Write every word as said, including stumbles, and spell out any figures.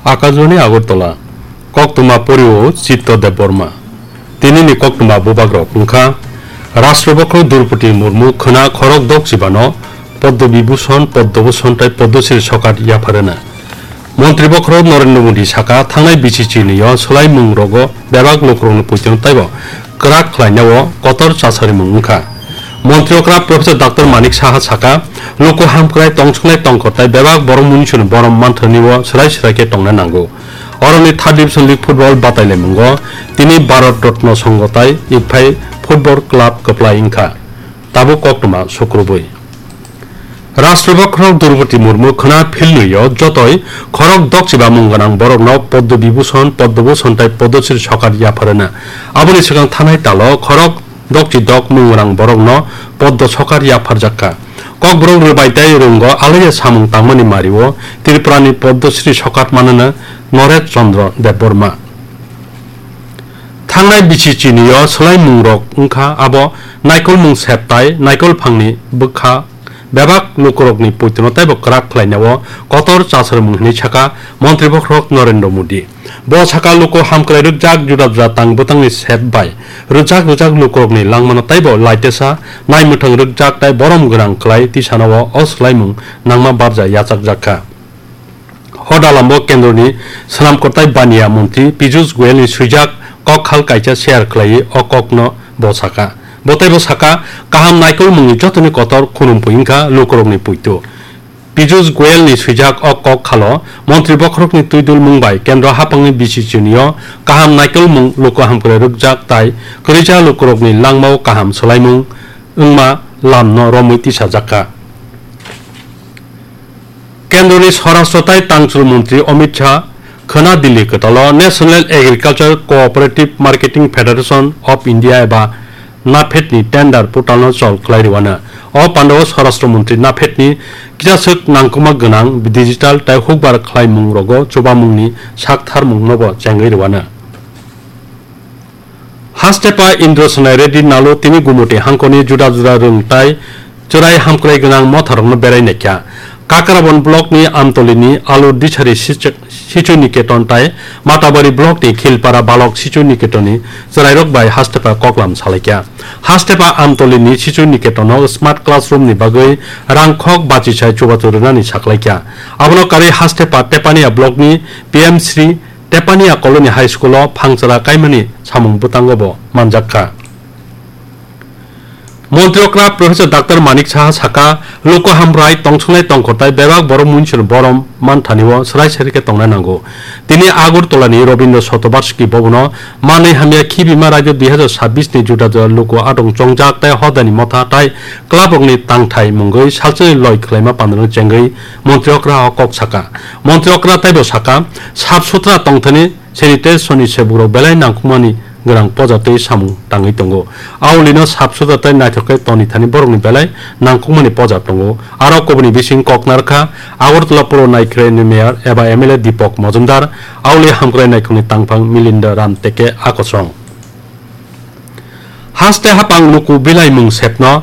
Akajwani Agartala, koktwma porio Chitto Debbarma. Tinini koktwma bubagrok wngkha, Rashtra Bokhorok Droupadi Murmu khwna khorok dok chibano Padma Vibhushan, Padma Bhushan tei Padma Shri sokat yapharwna. Montri Bokhorok Narendra Modi saka, thangnai bichi chinio swlaimung rogo bebak lukurokni poito taibo kwrak khlainao kotor chasarimung wngkha. Montri okra Professor Doctor Manik Saha saka, luku hamkrai tongsongnai tongkor tei bebak borok munisuni borom manthanibo swrai swrai khe tongna nango. Oroni third division league football batailaimungo tini Bharat Ratna Sangha tai Ikphai Football Club kwplai wngkha. Tabuk koktwma sukrubui. Rashtra Bokhorok Droupadi Murmu khwna philnwio jotoi khorok dokchiba mung gwnang borokno Padma Vibhushan, Padma Bhushan tei Padma Shri sokat yapharwna. Aboni swkang thanai talo khorok dokchi dok mung gwnang borokno Padma sokat yapharjakha. Kokborok rwbai tei rwngo alaiya samung tangmani mario Tripurani Padma Shri sokat manana Naresh Chandra Debbarma. Thangnai bichi chinio swlaimungrok wngkha abo naikolmung sep tai naikol phangni bwkha bebak lukurokni poitono taibo kwrak khlainao kotor chasarmung hinwi saka Montri Bokhorok Narendra Modi. Bo saka luku hamkrai rwkjak juda juda tang bwtangni sep bai rwjak rwjak lukurokni langmano taibo laitesa naimwthang rwkjak tai borom gwnang khlai tisanao o swlaimung nangma barja yachakjakha. Hodalambo kendroni swnam kwtai baniya montri Piyush Goyalni swijak kok khal kaisa share khlaiwi o kokno bo saka. Bo teibo saka, kaham naikolmungni jotoni kotor khunum pui wngkha lukurokni puitu. Piyush Goyalni swijak o kok khalo montri bokhorokni twidulmung bai kendro haphangni B C C ni o kaham naikolmung luku hamkrai rwkjak tai kwrwija lukurokni langmao kaham swlaimung wngma lamno romwi tisajakha. Kendroni Swarashtra tai Tangchul Montri Amit Shah khwna Delhi kwtalo National Agriculture Cooperative Marketing Federation of India eba NAFED ni tender portal no chol khlai rwano. O pandao Swarashtra Montri NAFED ni kisaswk nangkukma gwnang digital tai hukbar khlaimung rogo chubamungni saktharmung nobo chengwi rwano. Hastepa Indra Sonai Reddy Nalu tini Gumoti hangkoni juda juda rwng tai chwrai hamkrai gwnang motharokno berai naikha. Kakrabon block ni Amtoli ni Alu Disari Sichu Niketon tai Matabari block ni Khilpara Balok Sichu Niketon ni chwrairok bai Hastepa koklam salaikha. Hastepa Amtoli ni Sichu Niketon o smart classroom ni bagwi rang khok bachisai chubachu rwnani saklaikha. Abono karwi Hastepa Tepania block ni P M Shri Tepania Colony High School o phangchara kaimani samung bwtango bo manjakha. Montri okra Professor Doctor Manik Saha saka, luku hamkrai tongsongnai tongkor tai bebak borok muinsuni borom manthani o swrai swrai khe tongnai nango. Tini Agartala ni Rabindra Shatovarshiki Bhavan o manwi hamya khibima raida dui hazar sabbish ni juda juda luku atong chongjak tai hodani motha tai club rokni tangthai mungwi salsani loi khlaima pandarno chengwi montri okra o kok saka. Montri okra taibo saka, sap sutra tongthani sanitation ni sebukrok belai nangkukmani gwnang poja twi samung tangwi tongo. Aulino sap sutra tei naithok khe toni thani borokni belai nangkukmani poja tongo. Aro kubuni bising kok narwkha Agartala Puro Naikhrai ni mayor eba M L A Deepak Majumdar, auli hamkrai naikhokni tangphang Milinda Ram teke akosong. Haste hapang luku bilaimung sepno